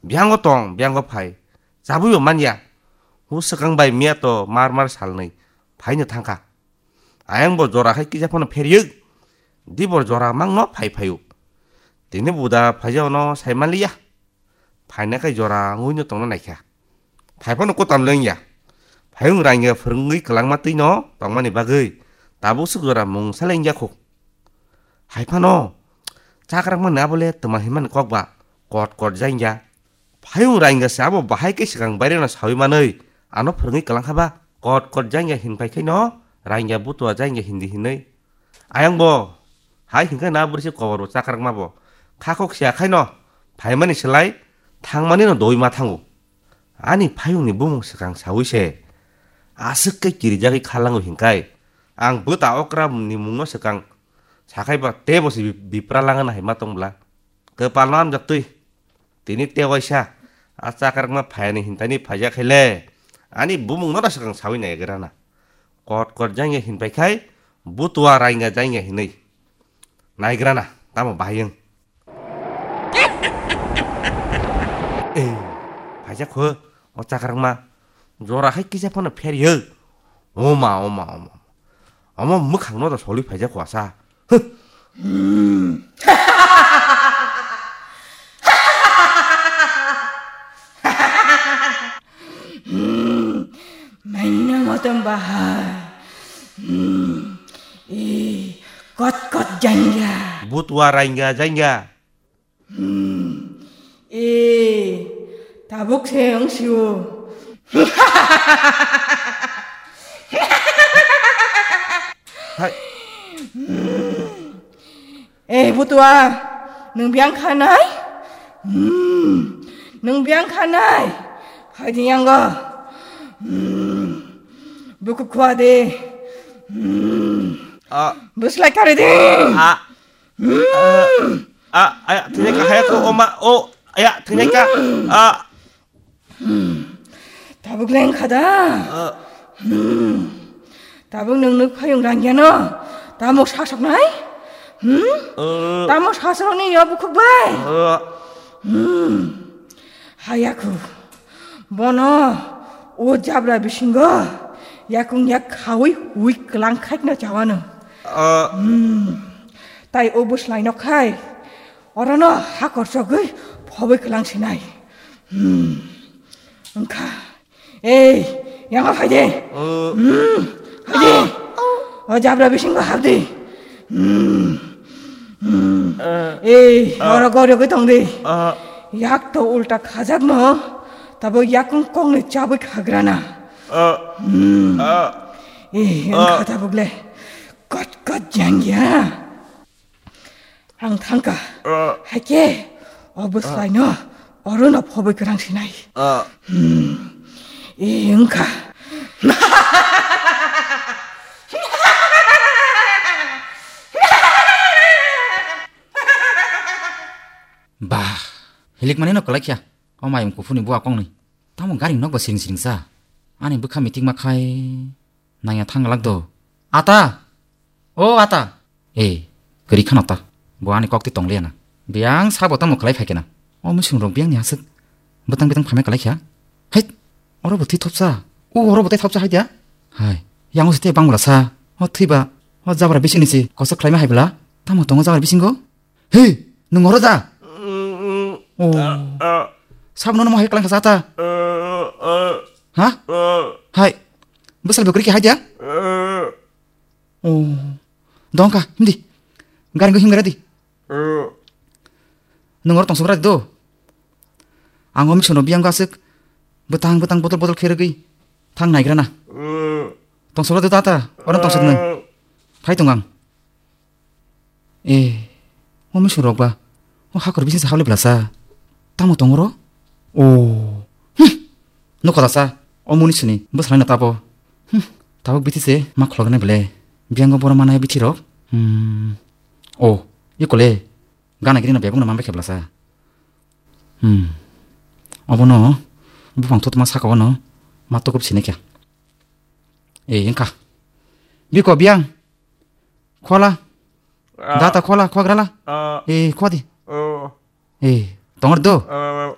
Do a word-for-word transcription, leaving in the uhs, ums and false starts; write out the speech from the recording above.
Biyango tong, biyango phai. Chabwi bo manya. Hu swkang bai miya to mar mar salnwi phaino thangkha. Ayang bo jora khai kisa phano pheryuk. Dibor jora mangno phai phaio. Tini buda phaijao no sai manliya. Phaina khai jora wngwi no tongna naikha. Phai phano kutam le wngya. Phayung rangya phwrwngwi kwlangma twi no tongmani bagwi tabuk swk jora mung salai wngya kho. Hai phano chakrak mani abo le twma hinmani kok ba kot kot jangya. Phayung rangya se abo bahai khe swkang baire no sawi manwi ano phwrwngwi kwlangkha ba kot kot jangya hin phai khai no rangya butua jangya hindi hinwi. Ayang bo hai hinkhe na bwrwi se kobor bo chakrak ma bo kha kok sia khai no phaimani slai thangmani no doi ma thango. Ani phayungni bumung swkang sawi se aswk khe kirijagwi kha lango hinkai ang bwta okra ni mungno swkang sakhai ba tei bo se bi-, bipra langna hai ma tong bla. Kwpal no amjak twi. Tini tei waisa a chakrakma phayani hintani phaijak khaile ani bumung no swkang sawi naigrana. Kot kot jangya hin pai khai butua rainga jangya hinwi naigrana tamo bahayung. Eh, phaijak kho o chakrakma jora hai kisa phano pheryuk. Oma, oma, oma. Omo mwkhang no da soli phaijak kho asa. Huh. Mainna motom bahai. Hmm. Eh, kot kot jangya. Butwa rangya jangya. Hmm. Eh, tabuk se wng sio. Hai. Hmm. Eh, butua, nwng biyang khanai? Hmm. Nwng biyang khanai? Hai di yango. Hmm. Buku khwa de. Hmm. Ah. Buslai kare de. Ah. Hmm. Ah, aya, thwinaika, haya ko, oma, o, aya, thwinaika. Ah. Hmm. Tabuk leng kha da? Ah. Hmm. Tabuk nwng nuk phayung rang ya no? Tamo sasok nai? Hmm? Ah. Tamo sasok ni yo bukhuk bai? Ah. Hmm. Hayaku. Bono o jabra bisingo yakung yak khawi wi klang khaikna chawano. Ah. Hmm. Tai o buslai no khai. Orono hakor sogwi phobwi kwlang sinai. Hmm. Wngkha. Ei, yanga phai de. Uh. Hmm. Phai de. O jabra bisingo hap de. Hmm. Hmm. Uh. Ei, uh. Oro gori gwi tong de. Uh. Yak to ulta khajak no. Tabo yakung kong ni chabwi khagrana. Uh. Hmm. Uh. Ei, uh. Wngkha tabuk le. Kot kot jang ya. Ang thangka. Ah. Haike, o bwsai no, oro no phobwi kwrang sinai. Ah. Hmm. E wngkha. Bah, hilik mani no kwlai kha. O mayung kuphuni bua kongni. Tamo gari nok ba siring siring sa. Ani bwkha mitik ma khai. Nangya thang glak do. Ata! O ata! E, kwrwi khano ta. Bo ani kok twi tong liya na. Biyang sabo tamo khlai phai khe na. O misung rok biyang ni aswk. Bwtang bwtang phaimai kwlai kha. Hai! Oro bo thwi thopsa. O oro bo tei thopsa hai dia. Hai! Yang o se tei bang bwla sa. O thwi ba. O jabra bising ni se kosa khlai ma hai bwla. Tamo tongo jabra bisingo? He, nwng oro da? Mm, mm. Oh. Ah, ah. Sabno no mohai kalang kasa ta? Ah, ah. Ha? Ah. Hai. Bwsal bwkrwi khe hai dia? Ah. Oh. Dong kha, hindi. Gari go himgra di. Ah. Nwng oro tong sobra do. Ang o misongno biyang gaswk. Bwtang bwtang bodol bodol khe rwgwi. Thang naigra na. Ah. Tong sobra do ta ta. Oro tong sobra nwng. Ah. Phai tong ang. Eh, o misung rok ba, o hakor bising sa hable blasa. Tamo tong oro? Oh. Hmm. Nokho dasa, o muni sini, bwsalaino tabo. Hmm. Tabuk bithi se, ma khulok nai bele. Biyango boro manai bithi rok. Hmm. Oh, ikole. Gana gini no bebak no mambe khe blasa. Hmm. Obono, bupang thutma saka wano, ma tukup sini kya. Eh, engka. Biko biyang. Khola. Ah. Data khola, khwa grala. Ah. Eh, khwa di. Oh. Eh, tongor do. Ah.